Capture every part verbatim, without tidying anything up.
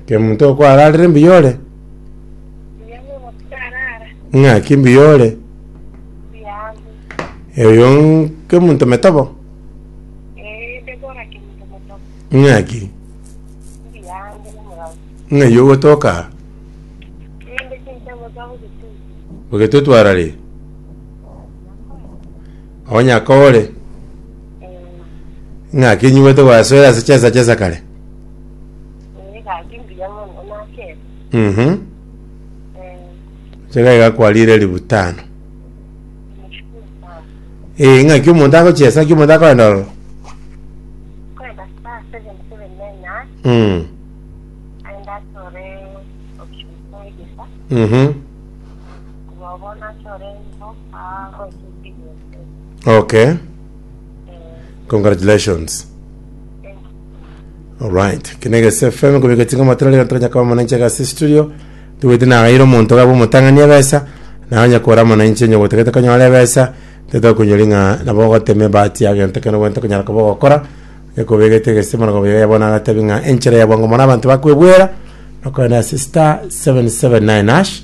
Kemunto okwararire mbuya ore? Mbuya mono tikarara. Ng'aki mbuya ore? Mbuya ande. Oyo Kemunto Metobo? Eh, Debora Kemunto Metobo. Ng'aki? Mbuya ande nomorao. Ng'ai ogotoka? Ninde chinsemo za Bogetutu. Bogetutu arari? Onyakore? Eh, Ng'aki nyuwete gwasoera ase chesa chesa kare? eh, gaki mbuya mono nakebe. Mhm. Eh, Chega iga kwarire elifu tano. nashukuru sana. Eh, ng'aki omonto agochesa, ng'aki omonto akoenda ororo? Kwenda star seven seven nine nine, Mm. aenda achore option four egesa. Mhm. Kuba bono achore info, agochia Okay. Eh, Congratulations. thank you. Alright. Kinegese FM kubika tinga matrali na kama mwananchi gasi studio. Tuwete na gairo omonto gabo omotang'ani ebesa na onye kora mwananchi onye gotegete konyora ebesa tete kunyoringa nabo goteme bahati yagente kene gwente konyara koba gokora ekobegete gese mono gobiga yabona agatebi ng'a enchera ya bwango mono abantu bakwebwera nokoenda ase star seven seven nine hash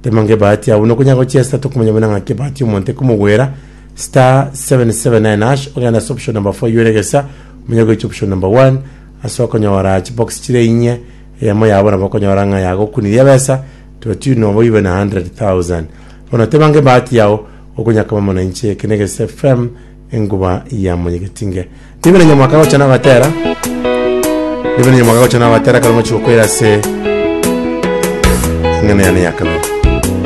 temange bahati yabo nokonya gochiesa tokumanya buna ng'aki bahati omonto ekomogwera star seven seven nine hash ogenda ase option number four yuregesa omenye goicha option number one ase okonyora chibox chire inye eyemo yabo nabo okonyora ng'a yagokuniria ebesa tuatino obo even a hundred thousand bono tebange bahati yao okonyaka mwananchi eke negese fm enguba ya monyegetinge ndibene nyamwaka gocha nagatera ndibene nyamwaka gocha nagatera kare mochi gokoira ase eng'ana yane ya kabere.